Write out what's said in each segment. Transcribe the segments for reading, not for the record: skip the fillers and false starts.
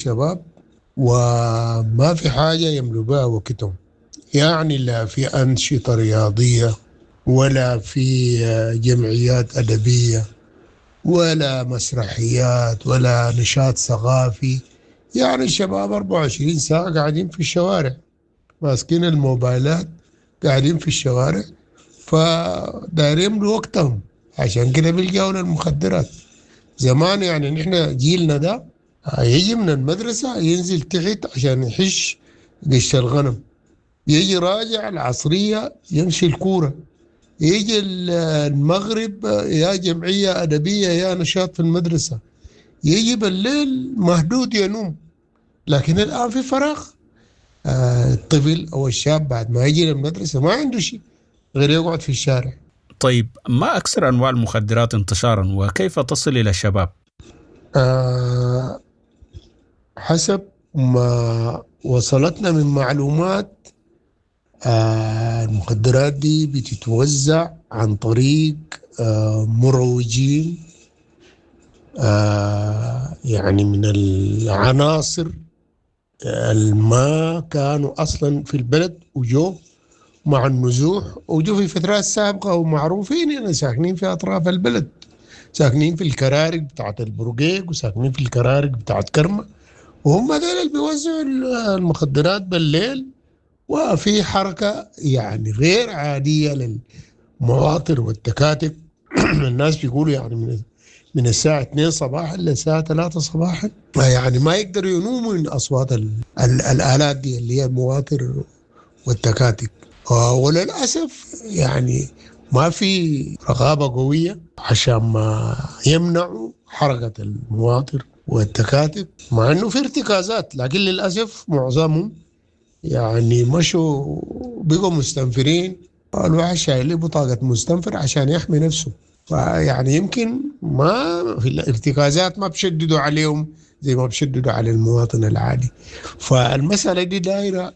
الشباب وما في حاجة يملوا بها وقتهم، يعني لا في أنشطة رياضية ولا في جمعيات أدبية ولا مسرحيات ولا نشاط ثقافي. يعني الشباب 24 ساعة قاعدين في الشوارع، ماسكين الموبايلات قاعدين في الشوارع، فدايرين يملوا وقتهم، عشان كده بيلجأوا للمخدرات. زمان نحن جيلنا ده يجي من المدرسة ينزل تحت عشان يحش قش الغنم، يجي راجع العصرية يمشي الكورة، يجي المغرب يا جمعية أدبية يا نشاط في المدرسة، يجي بالليل مهدود ينوم. لكن الآن في فراغ، الطفل أو الشاب بعد ما يجي للمدرسة ما عنده شيء غير يقعد في الشارع. طيب، ما أكثر أنواع المخدرات انتشارا وكيف تصل إلى الشباب؟ حسب ما وصلتنا من معلومات، المخدرات دي بتتوزع عن طريق مروجين، من العناصر الما كانوا أصلا في البلد وجو مع النزوح وجو في فترات سابقة ومعروفين، ساكنين في أطراف البلد، ساكنين في الكرارك بتاعت البرقيق وساكنين في الكرارك بتاعت كرمة، وهم دول اللي بيوزعوا المخدرات بالليل. وفي حركة غير عادية للمواطر والتكاتك. الناس بيقولوا من الساعة 2 صباحا للساعة 3 صباحا، ما يقدروا ينوموا من أصوات الآلات دي اللي هي المواطر والتكاتك. وللأسف ما في رقابة قوية عشان ما يمنعوا حركة المواطر والتكاتك، مع أنه في ارتكازات، لكن للأسف معظمهم مشوا بقوا مستنفرين. الواحد شايل بطاقة مستنفر عشان يحمي نفسه، فيعني يمكن ما في الارتكازات ما بشددوا عليهم زي ما بشددوا على المواطن العادي. فالمسألة دي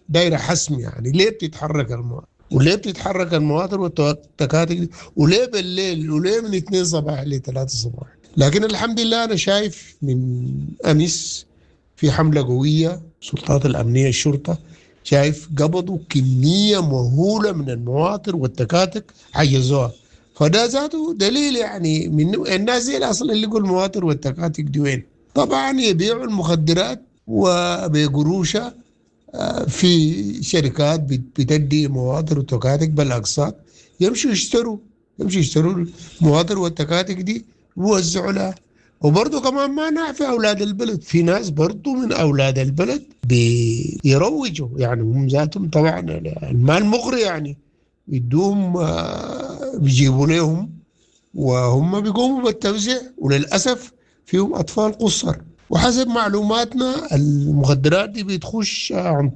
دايرة حسم، ليه بتتحرك المواطن وليه بتتحرك المواطن والتكاتك دي، وليه بالليل، وليه من 2 صباح ل 3 صباح. لكن الحمد لله أنا شايف من أمس في حملة قوية، السلطات الأمنية الشرطة شايف قبضوا كمية مهولة من المواطر والتكاتك حجزوها، فده ذاته دليل من الناس دي أصلا اللي يقول المواطر والتكاتك دي وين. طبعا يبيعوا المخدرات وبقروشة، في شركات بتدي مواطر وتكاتك بالأقساط، يمشوا يشتروا المواطر والتكاتك دي ويوزعوا لها. وبرضه كمان ما نعفي أولاد البلد، في ناس برضه من أولاد البلد بيروجوا، هم ذاتهم طبعا المال مغري، يدوم، بيجيبوا لهم وهم بيقوموا بالتوزيع، وللأسف فيهم أطفال قصر. وحسب معلوماتنا المخدرات دي بتخش عن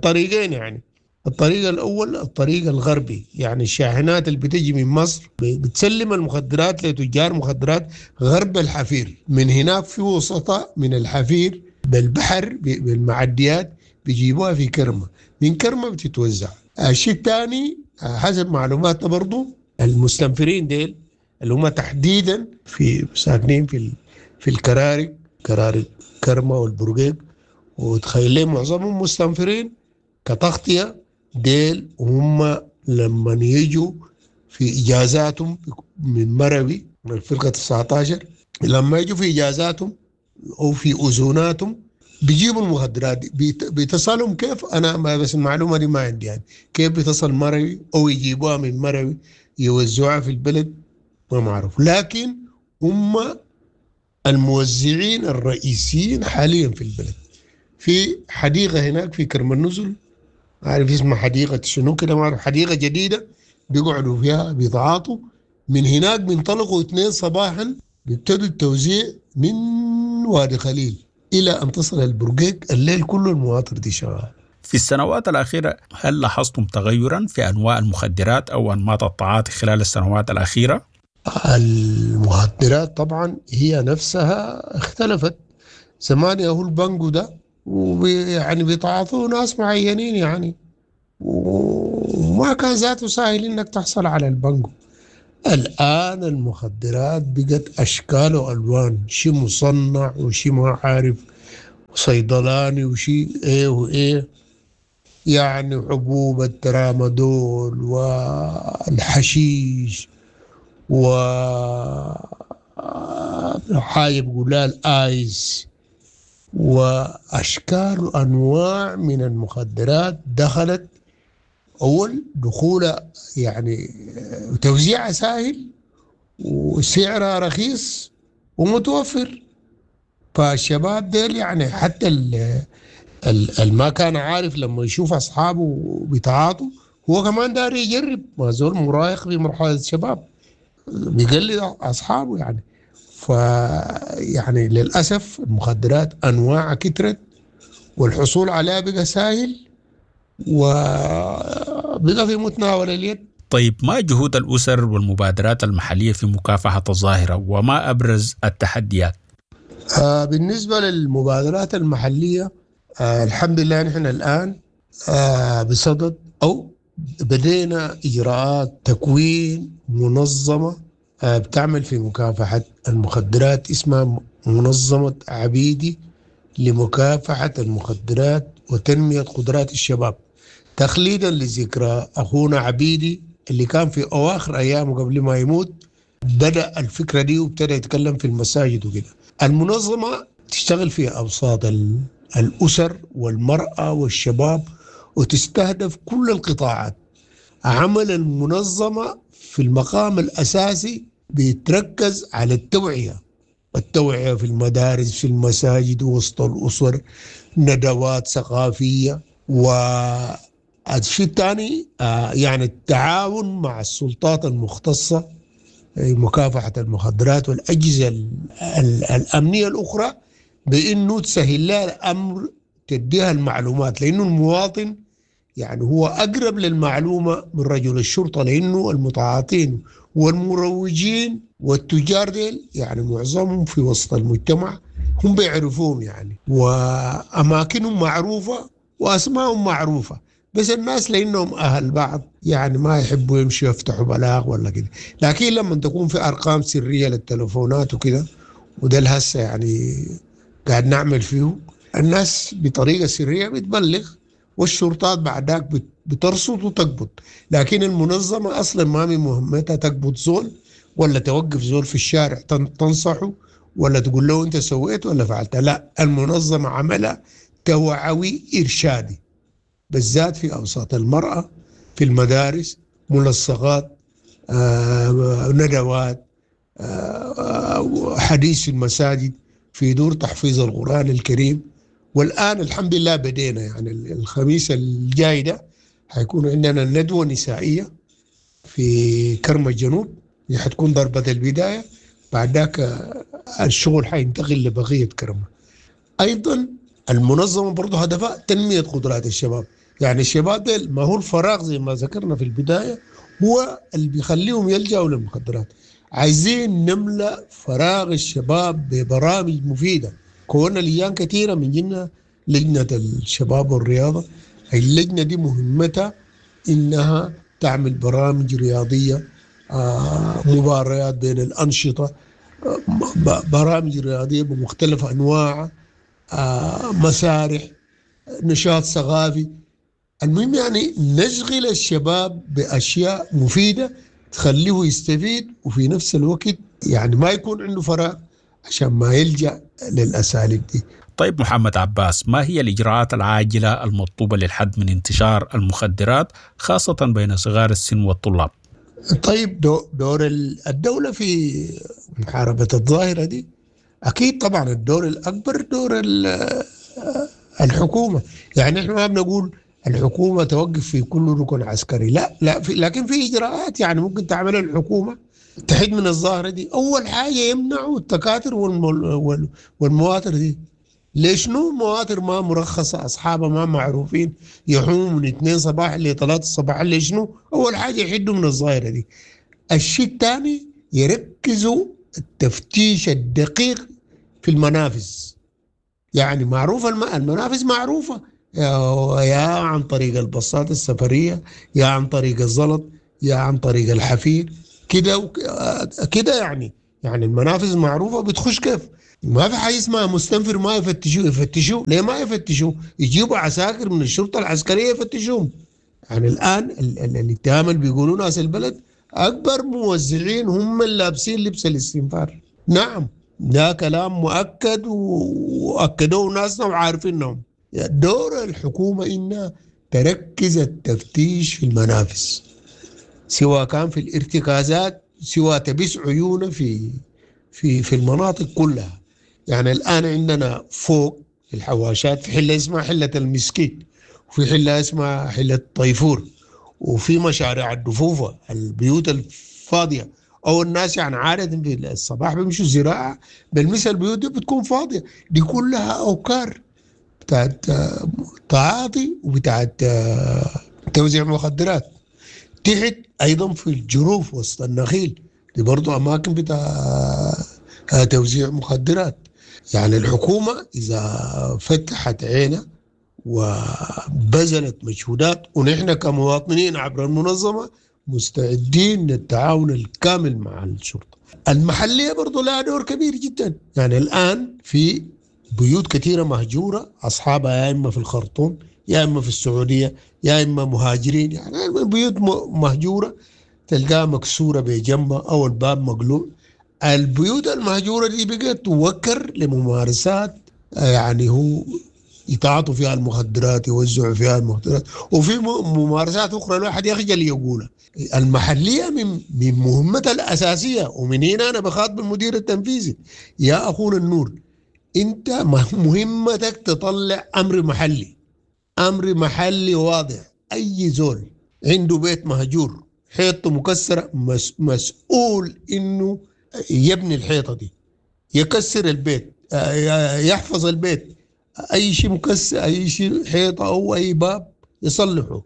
طريقين، الطريق الأول الطريق الغربي، الشاحنات اللي بتجي من مصر بتسلم المخدرات لتجار مخدرات غرب الحفير، من هناك في وسطاء من الحفير بالبحر بالمعديات بيجيبوها في كرمة، من كرمة بتتوزع. الشيء الثاني حسب معلوماتنا برضو المستنفرين ديل اللي هم تحديدا في ساكنين في الكرارك، كرارك كرمة والبرقيق، وتخيل لي معظمهم مستنفرين كتغطية. ديل هم لما يجوا في إجازاتهم من مروي من الفرقة 19، لما يجوا في إجازاتهم أو في أذوناتهم بيجيبوا المخدرات دي. بيتصلهم كيف؟ أنا ما بس المعلومة دي ما عندي، كيف بيتصل مروي أو يجيبوها من مروي يوزعوها في البلد ما معروف، لكن هم الموزعين الرئيسيين حاليا في البلد. في حديقة هناك في كرم النزل، عارف اسمها حديقة شنو كده ما أعرف، حديقة جديدة بيقعدوا فيها بيتعاطوا من هناك، بينطلقوا 2 صباحا بيبتدوا التوزيع من وادي خليل إلى أن تصل البرقيق، الليل كله المواطر دي شغالة. في السنوات الأخيرة هل لاحظتم تغيرا في أنواع المخدرات أو أنماط التعاطي خلال السنوات الأخيرة؟ المخدرات طبعا هي نفسها اختلفت. زمان ياهو البنجو ده بيتعاطوه ناس معينين وما كان ذاته سهل انك تحصل على البنجو. الآن المخدرات بقت أشكال وألوان، شيء مصنع وشيء ما عارف، صيدلاني وشيء ايه وايه، يعني حبوب الترامادول والحشيش و حاجة بيقولها الايس واشكال وانواع من المخدرات دخلت. اول دخولها يعني توزيعها سهل وسعرها رخيص ومتوفر. فالشباب ديل يعني حتى ما كان عارف لما يشوف اصحابه بيتعاطوا هو كمان داري يجرب، ما زول مراهق في مرحلة الشباب بيقلد اصحابه يعني. ف يعني للاسف المخدرات انواعها كترت والحصول عليها بقى سهل وبقى في متناول اليد. طيب، ما جهود الأسر والمبادرات المحلية في مكافحة الظاهرة وما أبرز التحديات؟ بالنسبة للمبادرات المحلية، الحمد لله نحن الآن بصدد أو بدينا إجراءات تكوين منظمة بتعمل في مكافحة المخدرات، اسمها منظمة عبيدي لمكافحة المخدرات وتنمية قدرات الشباب، تخليدا لذكرى أخونا عبيدي اللي كان في أواخر أيامه قبل ما يموت بدأ الفكرة دي وابتدى يتكلم في المساجد وكده. المنظمة تشتغل في أوساط الأسر والمرأة والشباب وتستهدف كل القطاعات. عمل المنظمة في المقام الأساسي بيتركز على التوعية، التوعية في المدارس، في المساجد، وسط الأسر، ندوات ثقافية. والشيء الثاني يعني التعاون مع السلطات المختصة مكافحة المخدرات والأجهزة الأمنية الأخرى، بأنه تسهل لها الأمر، تديها المعلومات، لأنه المواطن يعني هو أقرب للمعلومة من رجل الشرطة، لأنه المتعاطين والمروجين والتجار ديل يعني معظمهم في وسط المجتمع، هم بيعرفوهم يعني، وأماكنهم معروفة وأسمائهم معروفة، بس الناس لأنهم أهل بعض يعني ما يحبوا يمشوا يفتحوا بلاغ ولا كده. لكن لما تكون في أرقام سرية للتلفونات وكده، وده الهسه يعني قاعد نعمل فيه، الناس بطريقة سرية بتبلغ والشرطات بعدك بترصد وتقبض. لكن المنظمة أصلا ما من مهمتها تقبض زول ولا توقف زول في الشارع تنصحه ولا تقول له أنت سويت ولا فعلت. لا، المنظمة عملها توعوي إرشادي، بالذات في أوساط المرأة، في المدارس، ملصقات، ندوات، حديث في المساجد، في دور تحفيظ القرآن الكريم. والآن الحمد لله بدينا، يعني الخميس الجاي ده حيكون عندنا ندوة نسائية في كرم الجنوب، دي حتكون ضربة البداية، بعد ذاك الشغل حينتقل لبقية كرمة. أيضا المنظمة برضو هدفها تنمية قدرات الشباب، يعني الشباب ده ما هو الفراغ زي ما ذكرنا في البداية هو اللي بيخليهم يلجأوا للمخدرات. عايزين نملأ فراغ الشباب ببرامج مفيدة. كونا لجان كثيرة من جنة لجنة الشباب والرياضة، اللجنة دي مهمتها إنها تعمل برامج رياضية، مباريات بين الأنشطة، برامج رياضية بمختلف أنواعها، مسارح، نشاط ثقافي. المهم يعني نشغل الشباب بأشياء مفيدة تخليه يستفيد، وفي نفس الوقت يعني ما يكون عنده فراغ عشان ما يلجأ للأساليب دي. طيب محمد عباس، ما هي الإجراءات العاجلة المطلوبة للحد من انتشار المخدرات خاصة بين صغار السن والطلاب؟ طيب دور الدولة في محاربة الظاهرة دي أكيد طبعا الدور الأكبر دور الحكومة. يعني إحنا ما بنقول الحكومة توقف في كل ركن عسكري، لا لا، لكن في إجراءات يعني ممكن تعملها الحكومة تحد من الظاهرة دي. أول حاجة يمنعوا التكاتر والمواتر دي. ليش نو مواتر ما مرخصة، أصحابها ما معروفين، يحوموا من 2 صباح ل 3 الصباح، ليش نو؟ أول حاجة يحدوا من الظاهرة دي. الشيء الثاني يركزوا التفتيش الدقيق في المنافذ. يعني معروفة المنافذ معروفة، يا عن طريق الباصات السفرية، يا عن طريق الزلط، يا عن طريق الحفير، كده كده. يعني يعني المنافذ معروفة بتخش كيف. ما في حاجة اسمها مستنفر ما يفتشوه. يفتشوه ليه ما يفتشوه؟ يجيبوا عساكر من الشرطة العسكرية يفتشوهم. يعني الان الاتهام اللي بيقولوا ناس البلد اكبر موزعين هم اللي لابسين لبس الاستنفار. نعم ده كلام مؤكد واكدوه ناسنا وعارفينهم. دور الحكومة انها تركز التفتيش في المنافس، سواء كان في الارتكازات، سواء تبس عيونه في في في المناطق كلها. يعني الان عندنا فوق في الحواشات في حله اسمها حله المسكيت، وفي حله اسمها حله طيفور، وفي مشاريع الدفوفه، البيوت الفاضيه او الناس يعني عادة في الصباح بيمشوا زراعة، بالمثل البيوت دي بتكون فاضية، دي كلها اوكار بتاعت تعاطي وبتاعت توزيع مخدرات. تحت ايضا في الجروف وسط النخيل دي برضو اماكن بتاع توزيع مخدرات. يعني الحكومة اذا فتحت عينها وبذلت مجهودات، ونحن كمواطنين عبر المنظمة مستعدين للتعاون الكامل مع الشرطة المحلية، برضو لها دور كبير جدا. يعني الآن في بيوت كثيرة مهجورة، أصحابها يا إما في الخرطوم يا إما في السعودية يا إما مهاجرين. يعني بيوت مهجورة تلقاها مكسورة بجنبها أو الباب مقلوع. البيوت المهجورة دي بقت توكر لممارسات يعني هو يتعاطوا فيها المخدرات، يوزعوا فيها المخدرات، وفي ممارسات اخرى الواحد يخجل يقولها. المحلية من مهمتها الاساسية، ومن هنا انا بخاطب المدير التنفيذي، يا اخونا النور، انت مهمتك تطلع امر محلي، امر محلي واضح. اي زول عنده بيت مهجور حيطته مكسرة مسؤول انه يبني الحيطة دي، يكسر البيت، يحفظ البيت، اي شيء مكسر، اي شيء حيطة او اي باب يصلحه،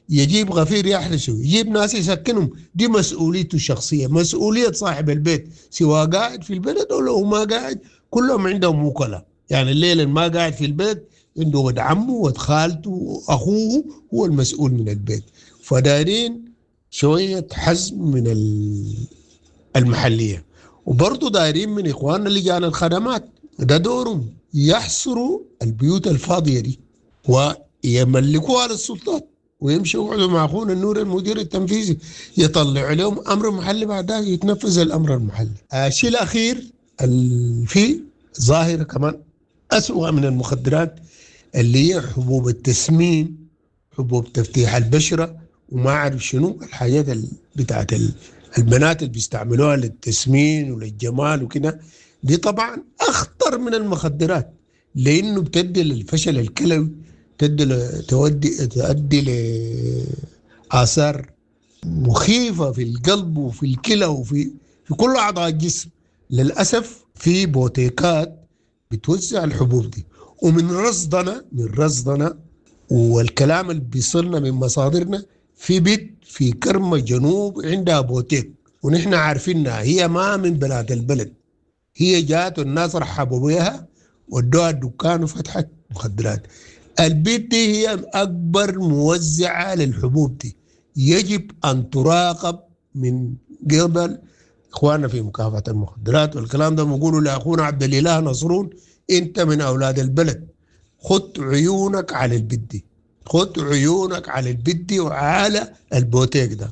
يجيب غفير يحرسه، يجيب ناس يسكنهم. دي مسؤوليته الشخصية، مسؤولية صاحب البيت، سواء قاعد في البلد او لو ما قاعد، كلهم عندهم وكلاء. يعني الليل اللي ما قاعد في البيت عنده ود عمه ود خالته واخوه هو المسؤول من البيت. فدايرين شوية حزم من المحلية، وبرضه دايرين من اخواننا لجان الخدمات، ده دورهم، يحصروا البيوت الفاضيه دي ويملكوها للسلطات، ويمشوا يقعدوا مع اخونا النور المدير التنفيذي يطلع لهم امر محلي، بعدها يتنفذ الامر المحلي. الشيء الاخير في ظاهره كمان اسوأ من المخدرات، اللي هي حبوب التسمين، حبوب تفتيح البشرة، وما اعرف شنو الحاجات بتاعت البنات اللي بيستعملوها للتسمين وللجمال وكده. دي طبعا اخطر من المخدرات، لانه بتدي للفشل الكلوي، تؤدي لاثار مخيفة في القلب وفي الكلى وفي كل اعضاء الجسم. للاسف في بوتيكات بتوزع الحبوب دي، ومن رصدنا والكلام اللي بيصلنا من مصادرنا، في بيت في كرمة جنوب عندها بوتيك، ونحن عارفينها، هي ما من بلاد البلد، هي جات والناس رحبوا بها ودوها الدكان وفتحت مخدرات. البيت دي هي أكبر موزعة للحبوب دي، يجب أن تراقب من قبل إخواننا في مكافحة المخدرات. والكلام ده بنقوله لأخونا عبد الإله نصرون، أنت من أولاد البلد، خد عيونك على البيت دي، خد عيونك على البيت دي وعلى البوتيك ده.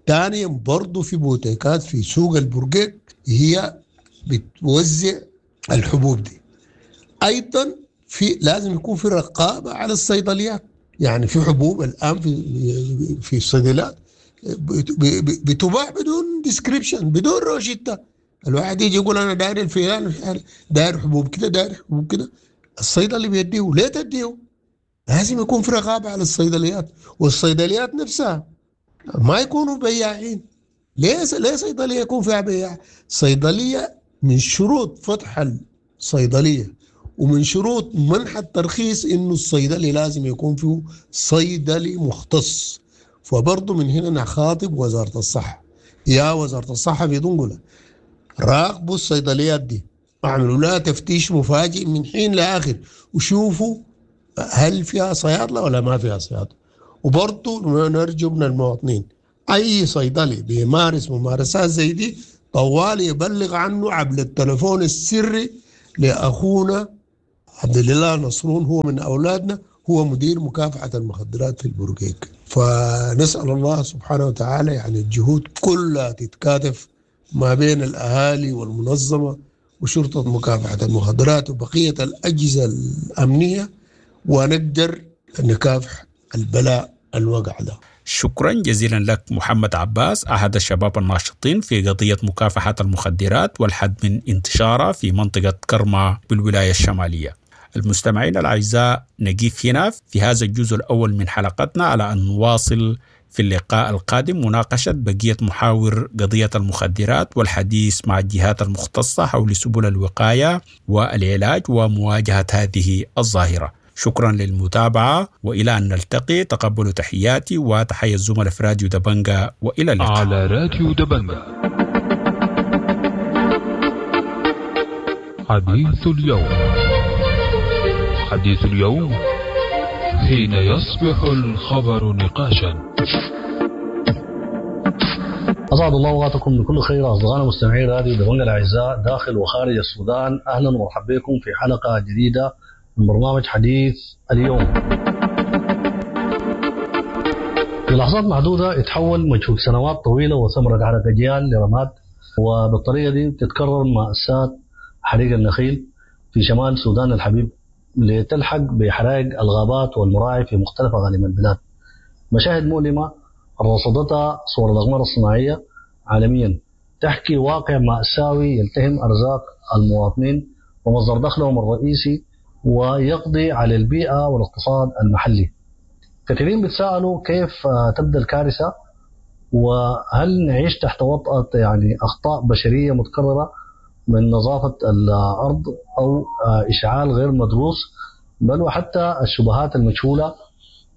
ثانيا برضه في بوتيكات في سوق البرقيق هي بتوزع الحبوب دي. ايضا في لازم يكون في رقابه على الصيدليات. يعني في حبوب الان في الصيدليات بتباع بدون description، بدون روشته. الواحد يجي يقول انا داير الفلان، داير حبوب كده، داير حبوب كده، الصيدلي بيديه. ليه تديه؟ لازم يكون في رقابه على الصيدليات، والصيدليات نفسها ما يكونوا بياعين. ليه صيدلية يكون فيها بياع؟ صيدلية من شروط فتح الصيدلية ومن شروط منح الترخيص انه الصيدلي لازم يكون فيه صيدلي مختص. فبرضه من هنا نخاطب وزارة الصحة، يا وزارة الصحة في دنقله، راقبوا الصيدليات دي، اعملوا لها تفتيش مفاجئ من حين لاخر، وشوفوا هل فيها صيادله ولا ما فيها صيادله. وبرضه نرجو من المواطنين اي صيدلي بيمارس ممارسات زي دي طوال يبلغ عنه عبر التلفون السري لاخونا عبد الله نصرون، هو من اولادنا، هو مدير مكافحة المخدرات في البرقيق. فنسال الله سبحانه وتعالى يعني الجهود كلها تتكاتف ما بين الاهالي والمنظمه وشرطه مكافحة المخدرات وبقية الاجهزة الامنية، ونقدر نكافح البلاء الوقع ده. شكرا جزيلا لك محمد عباس، أحد الشباب الناشطين في قضية مكافحة المخدرات والحد من انتشارها في منطقة كرمة بالولاية الشمالية. المستمعين الأعزاء، نقف هنا في هذا الجزء الأول من حلقتنا على أن نواصل في اللقاء القادم مناقشة بقية محاور قضية المخدرات والحديث مع الجهات المختصة حول سبل الوقاية والعلاج ومواجهة هذه الظاهرة. شكرا للمتابعة، وإلى أن نلتقي تقبلوا تحياتي وتحية الزملاء في راديو دبنجا، وإلى اللقاء. على راديو دبنجا حديث اليوم. حديث اليوم حين يصبح الخبر نقاشا. أسعد الله أوقاتكم بكل خير أصدقائنا مستمعي راديو دبنجا الأعزاء داخل وخارج السودان، أهلا ومرحبا بكم في حلقة جديدة من برنامج حديث اليوم. في لحظات معدودة اتحول مجهود سنوات طويلة وثمرة عرق أجيال لرماد، وبالطريقة دي تتكرر مأساة حريق النخيل في شمال السودان الحبيب لتلحق بحرائق الغابات والمراعي في مختلف أقاليم البلاد. مشاهد مؤلمة رصدتها صور الأقمار الصناعية عالميا تحكي واقع مأساوي يلتهم أرزاق المواطنين ومصدر دخلهم الرئيسي ويقضي على البيئة والاقتصاد المحلي. كثيرين بيتساءلوا كيف تبدأ الكارثة، وهل نعيش تحت وطأة يعني أخطاء بشرية متكررة من نظافة الأرض أو إشعال غير مدروس، بل وحتى الشبهات المجهولة،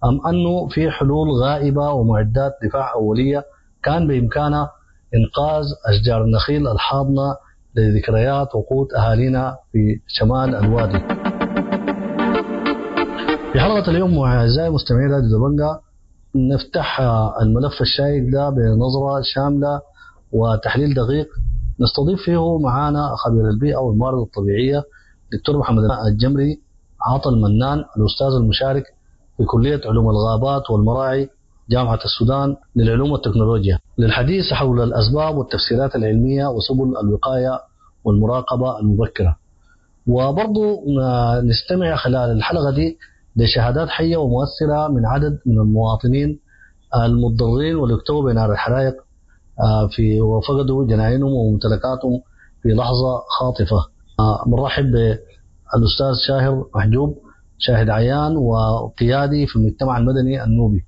أم أنه في حلول غائبة ومعدات دفاع أولية كان بإمكانها إنقاذ أشجار النخيل الحاضنة لذكريات وقوت أهالينا في شمال الوادي. في حلقة اليوم أعزائي مستمعي راديو دبنجا نفتح الملف الشائك ده بنظرة شاملة وتحليل دقيق نستضيف فيه معانا خبير البيئة والموارد الطبيعية دكتور محمد الجمري عطا المنان، الأستاذ المشارك في كلية علوم الغابات والمراعي جامعة السودان للعلوم والتكنولوجيا، للحديث حول الأسباب والتفسيرات العلمية وسبل الوقاية والمراقبة المبكرة. وبرضو نستمع خلال الحلقة دي لشهادات حية ومؤثرة من عدد من المواطنين المتضررين واللي اكتووا بنار الحرائق في وفقدوا جناينهم وممتلكاتهم في لحظة خاطفة. بنرحب بالأستاذ شاهر محجوب، شاهد عيان وقيادي في المجتمع المدني النوبي،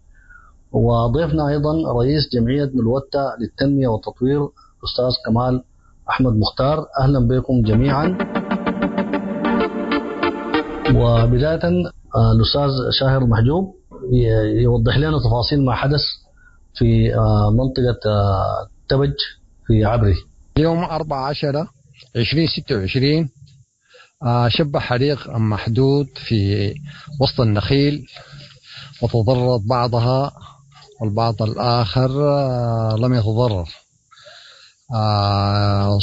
وضيفنا أيضا رئيس جمعية ملوتة للتنمية والتطوير الأستاذ كمال أحمد مختار. أهلا بكم جميعا. وبداية الأستاذ شاهر محجوب يوضح لنا تفاصيل ما حدث في منطقة تبج في عبري. اليوم 14/20/26 شب حريق محدود في وسط النخيل وتضررت بعضها والبعض الآخر لم يتضرر.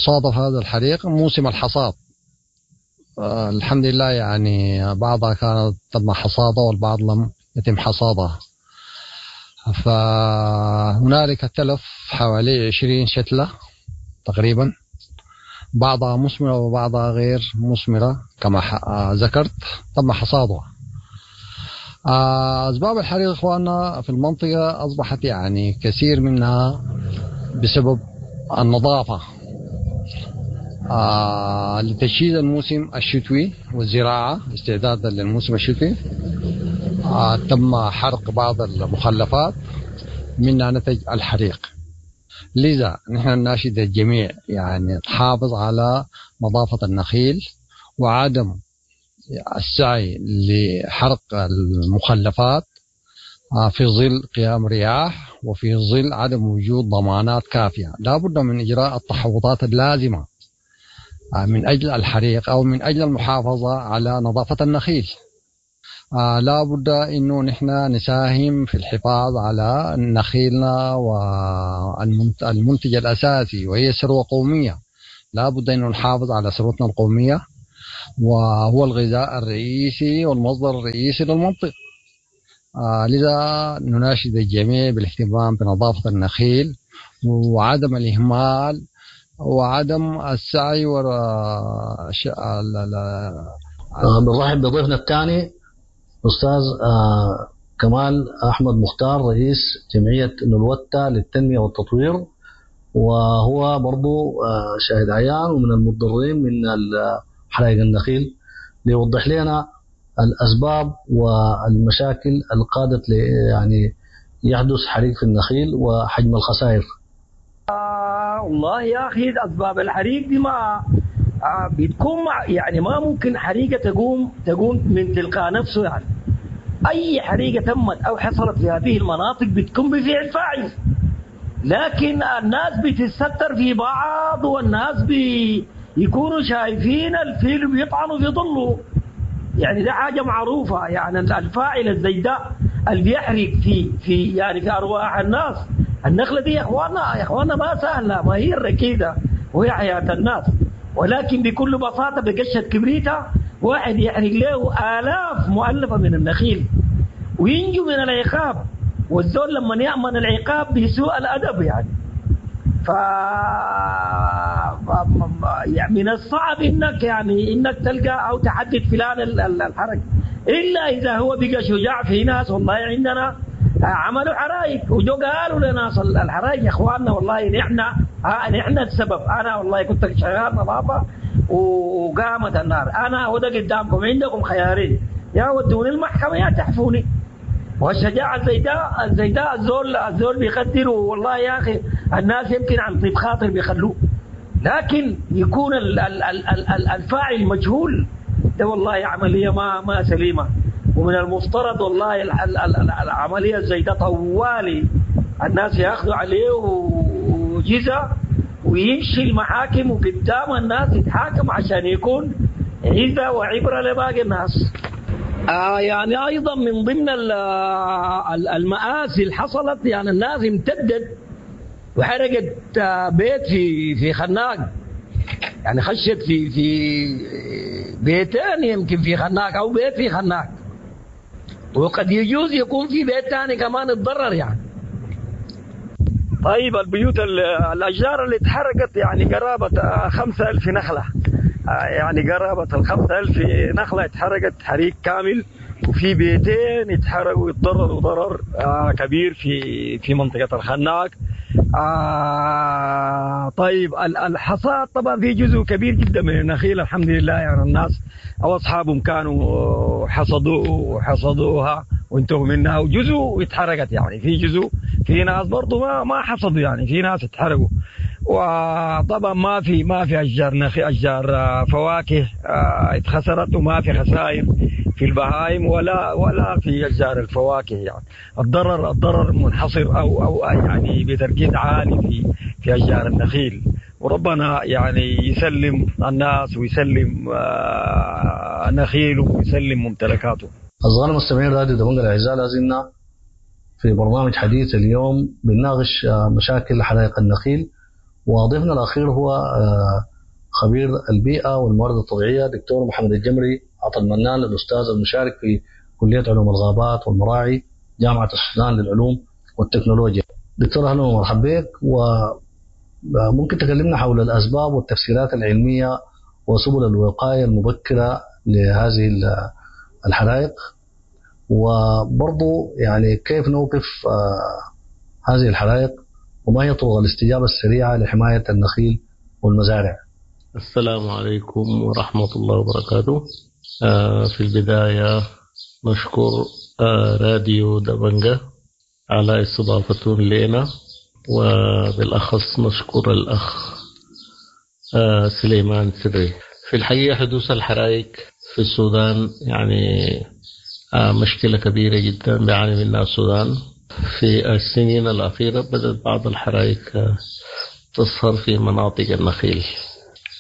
صادف هذا الحريق موسم الحصاد، الحمد لله يعني بعضها كانت تم حصادها والبعض لم يتم حصادها. فهنالك تلف حوالي 20 شتلة تقريبا، بعضها مثمرة وبعضها غير مثمرة كما ذكرت تم حصادها. أسباب الحريق إخواننا في المنطقة أصبحت يعني كثير منها بسبب النظافة، لتجهيز الموسم الشتوي والزراعة استعدادا للموسم الشتوي. تم حرق بعض المخلفات منها نتج الحريق. لذا نحن نناشد الجميع يعني تحافظ على نظافة النخيل وعدم السعي لحرق المخلفات في ظل قيام رياح وفي ظل عدم وجود ضمانات كافية. لا بد من إجراء التحوطات اللازمة من أجل الحريق أو من أجل المحافظة على نظافة النخيل. لا بد انه نحن نساهم في الحفاظ على نخيلنا والمنتج الاساسي وهي ثروة قومية. لا بد انه نحافظ على ثروتنا القومية، وهو الغذاء الرئيسي والمصدر الرئيسي للمنطقة. لذا نناشد الجميع بالاهتمام بنظافه النخيل وعدم الاهمال وعدم السعي وراء بنرحب بضيفنا الثاني استاذ كمال احمد مختار، رئيس جمعية نلوتا للتنمية والتطوير، وهو برضو شاهد عيان ومن المتضررين من حرائق النخيل، ليوضح لنا الاسباب والمشاكل اللي قادت يعني يحدث حريق في النخيل وحجم الخسائر. والله يا اخي اسباب الحريق دي ما بتكون يعني ما ممكن حريقة تقوم من تلقاء نفسه. يعني اي حريقة تمت او حصلت في هذه المناطق بتكون بفعل فاعل، لكن الناس بتتستر في بعض، والناس بيكونوا شايفين الفيل بيطعنوا في ظله. يعني ده حاجة معروفة، يعني الفاعل الزي ده اللي بيحرق في يعني في ارواح الناس. النخلة دي يا اخوانا يا اخوانا ما سهلة، ما هي الركيده وهي حياة الناس، ولكن بكل بساطة بقشه كبريته واحد يحرق له الاف مؤلفه من النخيل وينجو من العقاب. والزول لما يامن العقاب بسوء الادب يعني ف يعني من الصعب انك يعني انك تلقى او تحدد فلان الحرق، الا اذا هو بقى شجاع. في ناس والله عندنا عملوا حرائق وجو قالوا لناس الحرائق يا اخواننا والله نحن السبب، انا والله كنت شغال نظافة وقامت النار، انا وده قدامكم، عندكم خيارين، يا ودوني المحكمة يا تحفوني. والشجاعة زي ده الزول بيقدر، والله يا اخي الناس يمكن عن طيب خاطر بيخلوه، لكن يكون الفاعل مجهول، ده والله عملية ما سليمة. ومن المفترض والله العملية زي ده طوالي الناس ياخذوا عليه وجزء ويمشي المحاكم وقدام الناس يتحاكم عشان يكون عزة وعبرة لباقي الناس. يعني ايضا من ضمن المآسي اللي حصلت، يعني الناس امتدت وحرقت بيت في خناق، يعني خشت في بيتين يمكن في خناق او بيت في خناق، وقد يجوز يكون في بيت ثاني كمان اتضرر يعني. طيب البيوت الاشجار اللي اتحرقت يعني قرابة 5000 نخله، يعني قرابة 5000 نخله اتحرقت حريق كامل، وفي بيتين اتحرقوا واتضرروا ضرر كبير في منطقة الخناق. طيب الحصاد طبعا في جزء كبير جدا من النخيل الحمد لله، يعني الناس او اصحابهم كانوا حصدوها وانتهوا منها، وجزء اتحرقت، يعني في جزء في ناس برضو ما حصدوا، يعني في ناس اتحرقوا. وطبعا ما في اشجار نخيل، اشجار فواكه اتخسرت، وما في خسائر في البهائم ولا في اشجار الفواكه. يعني الضرر منحصر او يعني بتركيز عالي في اشجار النخيل. وربنا يعني يسلم الناس ويسلم نخيله ويسلم ممتلكاته. أصدقائنا المستمعين راديو دبنجة الأعزاء، لازلنا في برنامج حديث اليوم بنناقش مشاكل حرائق النخيل، وضيفنا الأخير هو خبير البيئة والموارد الطبيعية دكتور محمد الجمري عطا المنان، الأستاذ المشارك في كلية علوم الغابات والمراعي جامعة السودان للعلوم والتكنولوجيا. دكتور أهلا ومرحبا بك، وممكن تكلمنا حول الأسباب والتفسيرات العلمية وسبل الوقاية المبكرة لهذه الحرائق، وبرضو يعني كيف نوقف هذه الحرائق، وما هي طرق الاستجابة السريعة لحماية النخيل والمزارع؟ السلام عليكم ورحمة الله وبركاته. في البداية نشكر راديو دبنجة على استضافتهم لنا، وبالأخص نشكر الأخ سليمان سري. في الحقيقة حدوث الحرائق في السودان يعني مشكلة كبيرة جدا بيعاني منها السودان. في السنين الأخيرة بدأت بعض الحرائق تظهر في مناطق النخيل.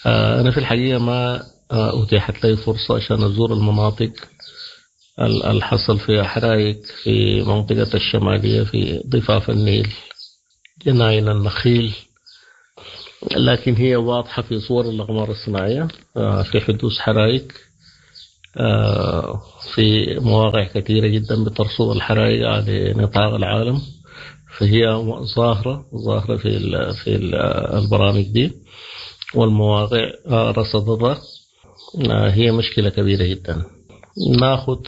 أنا في الحقيقة ما أتيحت لي فرصة عشان أزور المناطق الحصل فيها حرائق في منطقة الشمالية في ضفاف النيل، جناين النخيل، لكن هي واضحة في صور الأقمار الصناعية في حدوث حرائق في مواقع كثيرة جدا بترصد الحرائق على نطاق العالم، فهي ظاهرة في البرامج دي والمواقع رصدتها. هي مشكلة كبيرة جدا. ناخد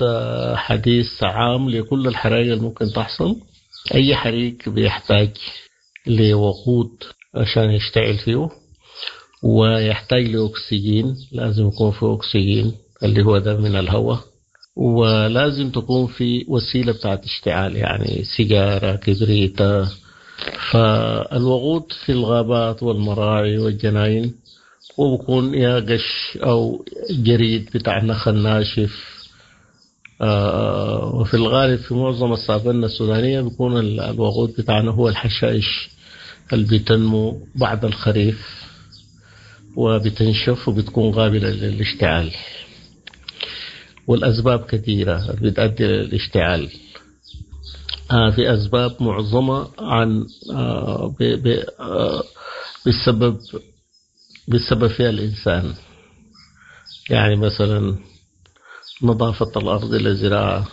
حديث عام لكل الحرائق اللي ممكن تحصل. أي حريق بيحتاج لوقود عشان يشتعل فيه، ويحتاج لأكسجين، لازم يكون فيه أكسجين اللي هو ده من الهواء، ولازم تكون في وسيلة بتاعت اشتعال، يعني سيجارة، كبريتة. فالوقود في الغابات والمراعي والجناين وبكون يا قش أو جريد بتاع نخل ناشف. وفي الغالب في معظم السافنة السودانية بيكون الوقود بتاعنا هو الحشائش اللي بتنمو بعد الخريف وبتنشف وبتكون قابلة للاشتعال. والأسباب كثيرة بتؤدي للاشتعال. في أسباب معظمها عن بسبب فيها الإنسان، يعني مثلا نظافة الأرض للزراعة،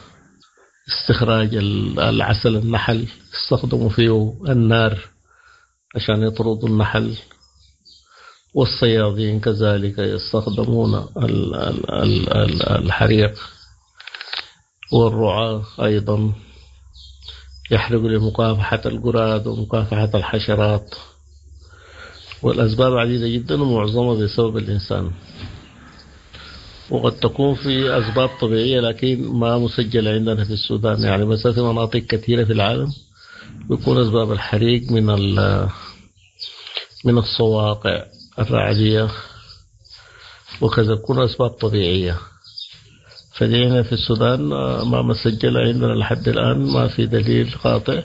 استخراج العسل النحل استخدموا فيه النار عشان يطردوا النحل، والصيادين كذلك يستخدمون الحريق، والرعاة أيضا يحرقوا لمكافحة القراد ومكافحة الحشرات. والأسباب عديدة جدا ومعظمها بسبب الإنسان، وقد تكون في أسباب طبيعية لكن ما مسجلة عندنا في السودان. يعني مثلا في مناطق كثيرة في العالم بيكون أسباب الحريق من الصواقع الرعدية وكذا، بيكون أسباب طبيعية. فدينا في السودان ما مسجلة عندنا لحد الآن، ما في دليل قاطع،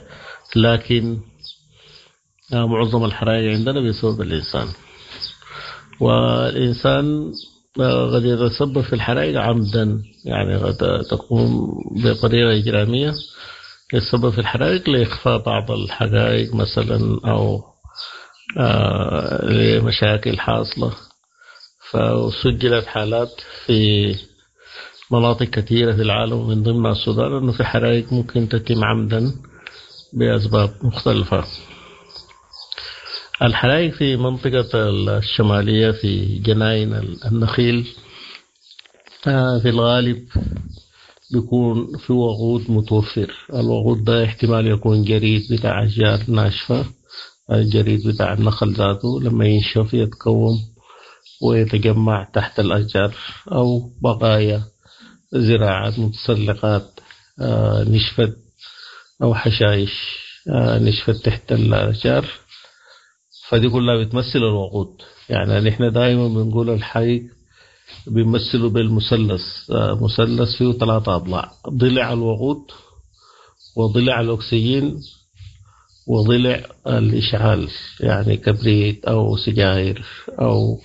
لكن معظم الحرائق عندنا بسبب الإنسان. والإنسان قد يتسبب في الحرائق عمدا، يعني قد تقوم بطريقة إجرامية يتسبب في الحرائق لإخفاء بعض الحقائق مثلا، أو لمشاكل حاصلة. فسجلت حالات في مناطق كثيرة في العالم ومن ضمنها السودان أنه في حرائق ممكن تتم عمدا بأسباب مختلفة. الحرائق في منطقة الشمالية في جناين النخيل في الغالب بيكون في وقود متوفر. الوقود ده احتمال يكون جريد بتاع أشجار ناشفة، الجريد بتاع النخل ذاته لما ينشف يتكوم ويتجمع تحت الأشجار، أو بقايا زراعات متسلقات نشفت، أو حشائش نشفت تحت الأشجار. فدي كلها بتمثل الوقود. يعني نحن دائما بنقول الحريق بيمثله بالمثلث، مثلث فيه 3 أضلاع: ضلع الوقود، وضلع الأكسجين، وضلع الإشعال، يعني كبريت أو سجاير أو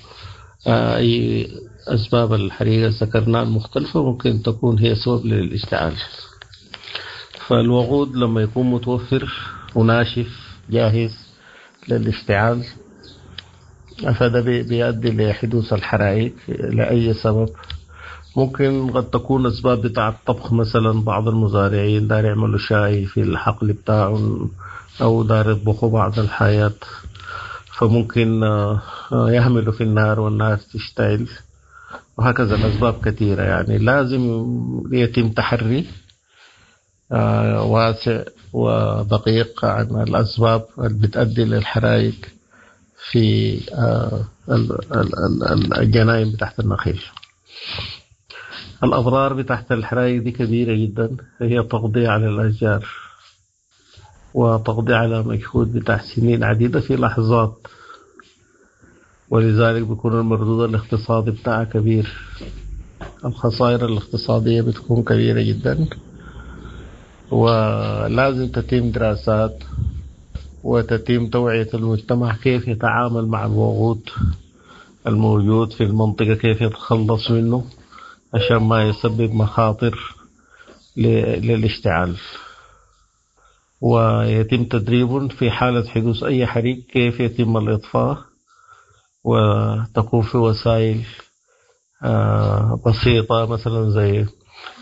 أي أسباب الحريقة ذكرناها المختلفة ممكن تكون هي سبب للإشتعال. فالوقود لما يكون متوفر وناشف جاهز للاشتعال فده بيؤدي لحدوث الحرائق لأي سبب. ممكن قد تكون أسباب بتاع الطبخ مثلا، بعض المزارعين دار يعملوا شاي في الحقل بتاعهم أو دار يطبخوا بعض الحياة، فممكن يهملوا في النار والنار تشتعل، وهكذا. الأسباب كثيرة، يعني لازم يتم تحري واسع ودقيق عن الأسباب اللي بتؤدي للحرائق في الجناين بتاعت النخيل. الأضرار بتاعت الحرائق دي كبيرة جدا، هي تقضي على الأشجار وتقضي على مجهود بتاع سنين عديدة في لحظات، ولذلك بيكون المردود الاقتصادي بتاعها كبير، الخسائر الاقتصادية بتكون كبيرة جدا. ولازم تتم دراسات وتتم توعية المجتمع كيف يتعامل مع الوقود الموجود في المنطقة، كيف يتخلص منه عشان ما يسبب مخاطر للاشتعال، ويتم تدريبهم في حالة حدوث أي حريق كيف يتم الإطفاء، وتكون في وسائل بسيطة مثلا زي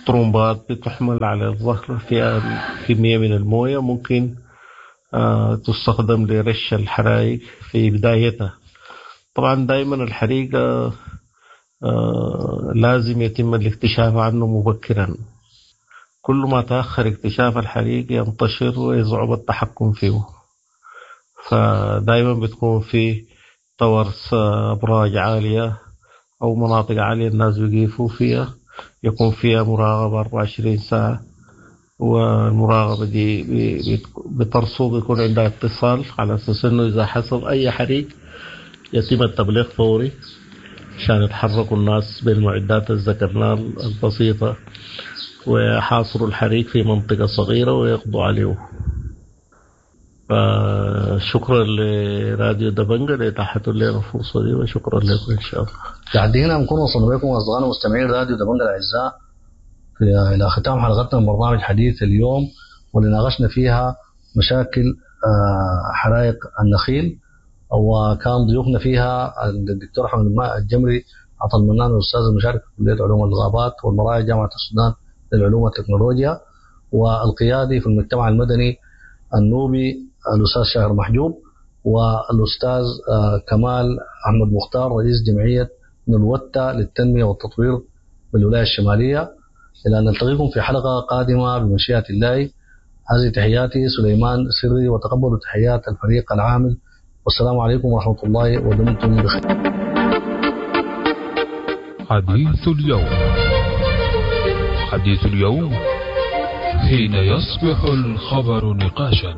طرمبات بتحمل على الظهر فيها كمية من الموية ممكن تستخدم لرش الحرائق في بدايتها. طبعا دائما الحريق لازم يتم الاكتشاف عنه مبكرا، كل ما تأخر اكتشاف الحريق ينتشر ويصعب التحكم فيه، فدائما بتكون في towers أبراج عالية أو مناطق عالية الناس بيقيفوا فيها، يكون فيها مراقبة 24 ساعة، والمراقبة دي بترصد، يكون عندها اتصال على أساس إنه إذا حصل أي حريق يتم التبليغ فوري عشان يتحركوا الناس بالمعدات اللي ذكرناها البسيطة ويحاصروا الحريق في منطقة صغيرة ويقضوا عليه. فشكرا لراديو دبنجة لإتاحته لنا الفرصة دي، وشكرا لكم إن شاء الله. لحد هنا نكون وصلنا بكم أصدقائنا مستمعين راديو دبنجة الأعزاء إلى ختام حلقتنا من برنامج حديث اليوم، واللي ناقشنا فيها مشاكل حرائق النخيل، وكان ضيوفنا فيها الدكتور أحمد الجمري عطا المنان الأستاذ المشارك في كلية علوم الغابات والمراعي جامعة السودان للعلوم والتكنولوجيا، والقيادي في المجتمع المدني النوبي الأستاذ شاهر محجوب، والأستاذ كمال أحمد مختار رئيس جمعية نلوتة للتنمية والتطوير بالولاية الشمالية. إلى أن نلتقيكم في حلقة قادمة بمشيئة الله. هذه تحياتي سليمان سري، وتقبلوا تحيات الفريق العامل، والسلام عليكم ورحمة الله، ودمتم بخير. حديث اليوم، حديث اليوم حين يصبح الخبر نقاشا.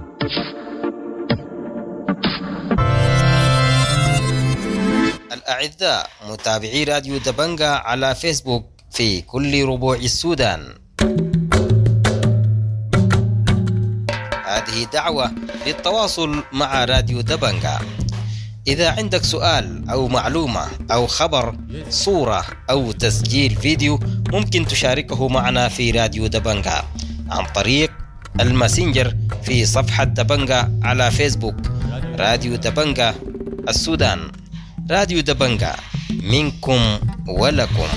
الأعزاء متابعي راديو دبنجا على فيسبوك في كل ربوع السودان، هذه دعوة للتواصل مع راديو دبنجا. إذا عندك سؤال أو معلومة أو خبر، صورة أو تسجيل فيديو، ممكن تشاركه معنا في راديو دبنجا عن طريق الماسنجر في صفحة دبنجا على فيسبوك، راديو دبنجا السودان. راديو دبنجا منكم ولكم.